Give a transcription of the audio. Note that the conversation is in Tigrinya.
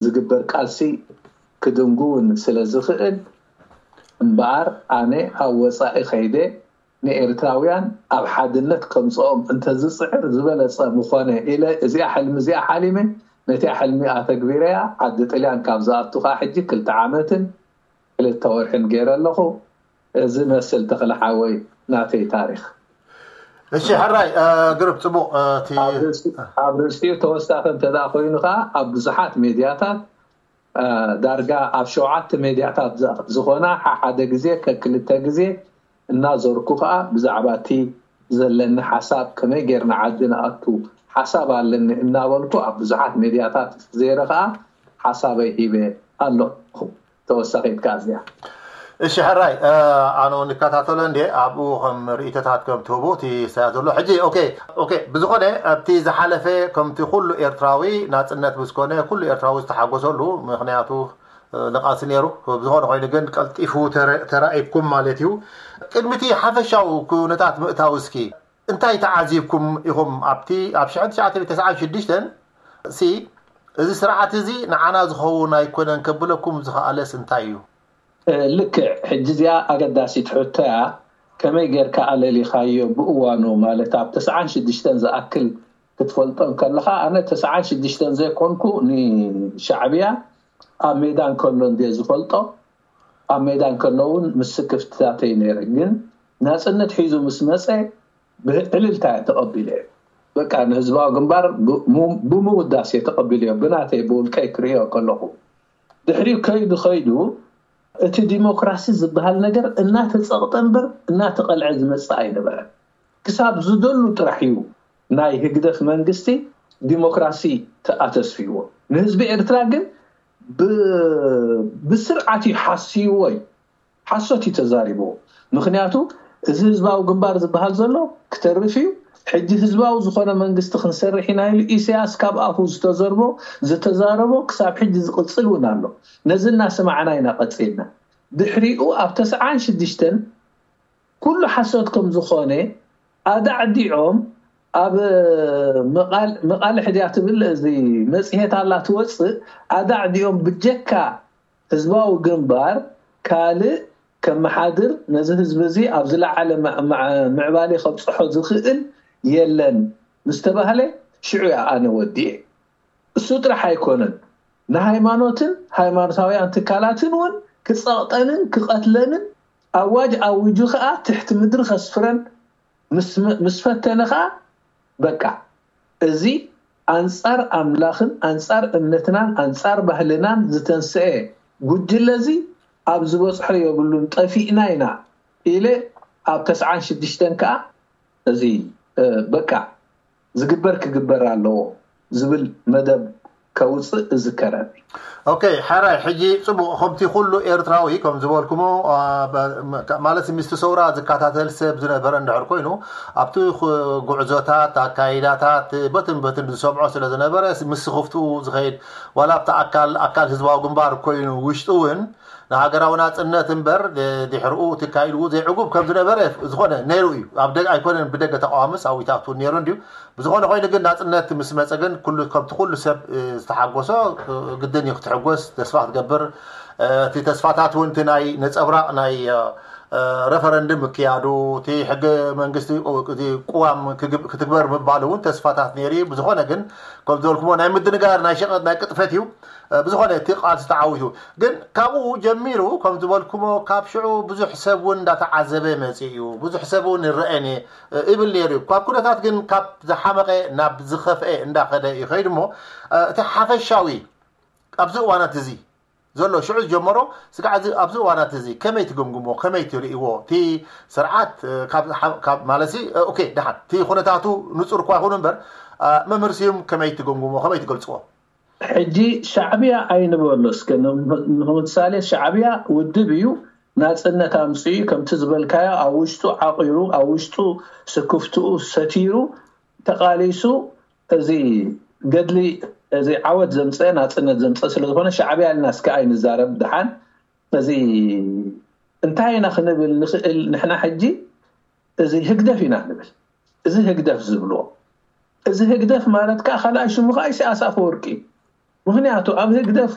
ዝግበር ቃልሲ ክድንጉውን ስለ ዝኽእል እምበኣር ኣነ ኣብ ወፃኢ ከይደ ንኤርትራውያን ኣብ ሓድነት ከምፅኦም እንተዝፅዕር ዝበለፀ ምኾነ ኢለ እዚኣ ሕልሚ እዚኣ ሓሊመ። ነቲኣ ሕልሚ ኣተግቢረያ። ዓዲ ጥልያን ካብ ዝኣቱ ከዓ ሕጂ ክልተ ዓመትን ክልተ ወርሕን ገይረ ኣለኹ። እዚ መስል ተኽለ ሓወይ ናተይ ታሪኽ። እሺ ሕራይ ግሩፕ ፅቡቕ እቲ ኣብ ርእሲኡ ተወሳኺ እንተ ኮይኑ ከዓ ኣብ ብዙሓት ሜድያታት ዳርጋ ኣብ ሸውዓተ ሜድያታት ዝኾና ሓደ ግዜ ከክልተ ግዜ እናዞርኩ ከዓ ብዛዕባ እቲ ዘለኒ ሓሳብ ከመይ ጌርና ዓዲ ንኣቱ ሓሳብ ኣለኒ እናበልኩ ኣብ ብዙሓት ሜድያታት ዜረ ከዓ ሓሳበይ ሂበ ኣለኹ። ተወሳኺት ከዓ እዚኣ እሺ ሕራይ ኣነ ንከታተሎ እንዴ ኣብኡ ከም ርእይቶታት ከም ትህቡ እቲ ስያ ዘሎ ሕጂ ኦኬ ኦኬ ብዝኾነ ኣብቲ ዝሓለፈ ከምቲ ኩሉ ኤርትራዊ ናፅነት ብዝኮነ ኩሉ ኤርትራዊ ዝተሓጎሰሉ ምክንያቱ ንቃልሲ ነይሩ። ብዝኾነ ኮይኑ ግን ቀልጢፉ ተራኢብኩም ማለት እዩ። ቅድሚቲ ሓፈሻዊ ኩነታት ምእታው እስኪ እንታይ ተዓዚብኩም ኢኹም ኣብቲ ኣብ ሽሕን ትሽዓተ ሚእትን ተስዓን ሽዱሽተን ሲ እዚ ስርዓት እዚ ንዓና ዝኸውን ኣይኮነን ከብለኩም ዝኸኣለስ እንታይ እዩ? ልክዕ ሕጂ እዚኣ ኣገዳሲት ሕቶ እያ። ከመይ ጌርካ ኣለሊኻዮ ብእዋኑ ማለት ኣብ ተስዓን ሽዱሽተን ዝኣክል ክትፈልጦ እንከለኻ ኣነ ተስዓን ሽዱሽተን ዘይኮንኩ ንሻዕብያ ኣብ ሜዳ እንከሎ እንድየ ዝፈልጦ። ኣብ ሜዳ እንከሎ እውን ምስ ስክፍትታተይ ነይረ። ግን ናፅነት ሒዙ ምስ መፀ ብእልልታ እየ ተቐቢለዮ። በቃ ንህዝባዊ ግንባር ብምውዳስ እየ ተቐቢለዮ። ብናተይ ብውልቀይ ክርእዮ ከለኹ ድሕሪኡ ከይዱ ከይዱ እቲ ዲሞክራሲ ዝበሃል ነገር እናተፀቕጠ እምበር እናተቐልዐ ዝመፅእ ኣይነበረን። ክሳብ ዝደሉ ጥራሕ እዩ ናይ ህግደፍ መንግስቲ ዲሞክራሲ ተኣተስፊዎ። ንህዝቢ ኤርትራ ግን ብስርዓት እዩ ሓስይዎ እዩ። ሓሶት እዩ ተዛሪብዎ። ምክንያቱ እዚ ህዝባዊ ግንባር ዝበሃል ዘሎ ክተርፍ እዩ። ሕጂ ህዝባዊ ዝኾነ መንግስቲ ክንሰርሕ ኢና ኢሉ ኢሳያስ ካብ ኣፉ ዝተዘርቦ ዝተዛረቦ ክሳብ ሕጂ ዝቕፅል እውን ኣሎ። ነዚ እናሰማዕና ኢና ቀፂልና። ድሕሪኡ ኣብ ተስዓን ሽዱሽተን ኩሉ ሓሶት ከም ዝኾነ ኣዳዕዲዖም ኣብ መቓልሕ ድያ ትብል እዚ መፅሄት ኣላ ትወፅእ ኣዳዕዲዖም ብጀካ ህዝባዊ ግንባር ካልእ ከመሓድር ነዚ ህዝቢ እዚ ኣብ ዝለዓለ ምዕባሌ ከብፅሖ ዝኽእል የለን ምስተባህለ ሽዑ እያ ኣነ ወዲኤ። እሱ ጥራሕ ኣይኮነን ንሃይማኖትን ሃይማኖታውያን ትካላትን እውን ክፀቕጠንን ክቐትለንን ኣዋጅ ኣዊጁ ከዓ ትሕቲ ምድሪ ከስፍረን ምስ ፈተነ ከዓ በቃ እዚ ኣንፃር ኣምላኽን ኣንፃር እምነትናን ኣንፃር ባህልናን ዝተንስአ ጉጅለ እዚ ኣብ ዝበፅሖ የብሉን ጠፊእና ኢና ኢለ ኣብ ተስዓን ሽዱሽተን ከዓ እዚ በቃ ዝግበር ክግበር ኣለዎ ዝብል መደብ ከውፅእ እዝከረኒ። ኦኬ ሓራይ ሕጂ ፅቡቅ ከምቲ ኩሉ ኤርትራዊ ከም ዝበልኩሞ ማለት ምስቲ ሰውራ ዝከታተል ሰብ ዝነበረ እንድሕር ኮይኑ ኣብቲ ጉዕዞታት ኣካይዳታት በትን በትን ዝሰምዖ ስለ ዝነበረ ምስ ስኽፍትኡ ዝኸይድ ዋላ ኣብቲ ኣካል ኣካል ህዝባዊ ግንባር ኮይኑ ውሽጡ እውን ንሃገራዊ ናፅነት እምበር ድሕርኡ ትካይድዎ ዘይዕጉብ ከም ዝነበረ ዝኾነ ነይሩ እዩ። ኣብ ደገ ኣይኮነን ብደገ ተቃዋምስ ኣብ ዊታት እውን ነይሩ እንድዩ። ብዝኾነ ኮይኑ ግን ናፅነት ምስ መፀ ግን ኩሉ ከምቲ ኩሉ ሰብ ዝተሓጎሶ ግድን እዩ ክትሕጎስ ተስፋ ክትገብር እቲ ተስፋታት እውን እቲ ናይ ነፀብራቕ ናይ ረፈረንድም ምክያዱ እቲ ሕገ መንግስቲ ቅዋም ክትግበር ምባሉ እውን ተስፋታት ነይሩ እዩ። ብዝኾነ ግን ከም ዝበልኩሞ ናይ ምድንጋር ናይ ሸቐጥ ናይ ቅጥፈት እዩ። ብዝኾነ እቲ ቃልሲ ተዓዊቱ ግን ካብኡ ጀሚሩ ከም ዝበልኩሞ ካብ ሽዑ ብዙሕ ሰብ እውን እንዳተዓዘበ መፂኡ እዩ። ብዙሕ ሰብ እውን ይረአን እብል ነይሩ እዩ። ካብ ኩነታት ግን ካብ ዝሓመቐ ናብ ዝኸፍአ እንዳኸደ እዩ ከይዱ እሞ እቲ ሓፈሻዊ ኣብዚ እዋናት እዚ ዘሎ ሽዑ ዝጀመሮ ስጋዕ ኣብዚ እዋናት እዚ ከመይ ትግምግሞ ከመይ ትርእይዎ እቲ ስርዓት ማለት ኦኬ ደሓን እቲ ኩነታቱ ንፁር እኳ ይኹን እምበር መምህር ስዩም ከመይ ትግምግሞ ከመይ ትገልፅዎ? ሕጂ ሻዕብያ ኣይንበሎ እስከ ንምሳሌ ሻዕብያ ውድብ እዩ ናፅነት ኣምፅኡ ከምቲ ዝበልካዮ ኣብ ውሽጡ ዓቂሩ ኣብ ውሽጡ ስክፍትኡ ሰቲሩ ተቃሊሱ እዚ ገድሊ እዚ ዓወት ዘምፀ ናፅነት ዘምፀ ስለዝኾነ ሻዕብያ ኢልና እስከ ኣይንዛረብ ድሓን እዚ እንታይ ኢና ክንብል ንኽእል ንሕና ሕጂ እዚ ህግደፍ ኢና ንብል እዚ ህግደፍ ዝብልዎ እዚ ህግደፍ ማለት ከዓ ካልኣይ ሽሙ ከዓ ኢሳያስ ኣፈወርቂ እዩ ምኽንያቱ ኣብ ህግደፍ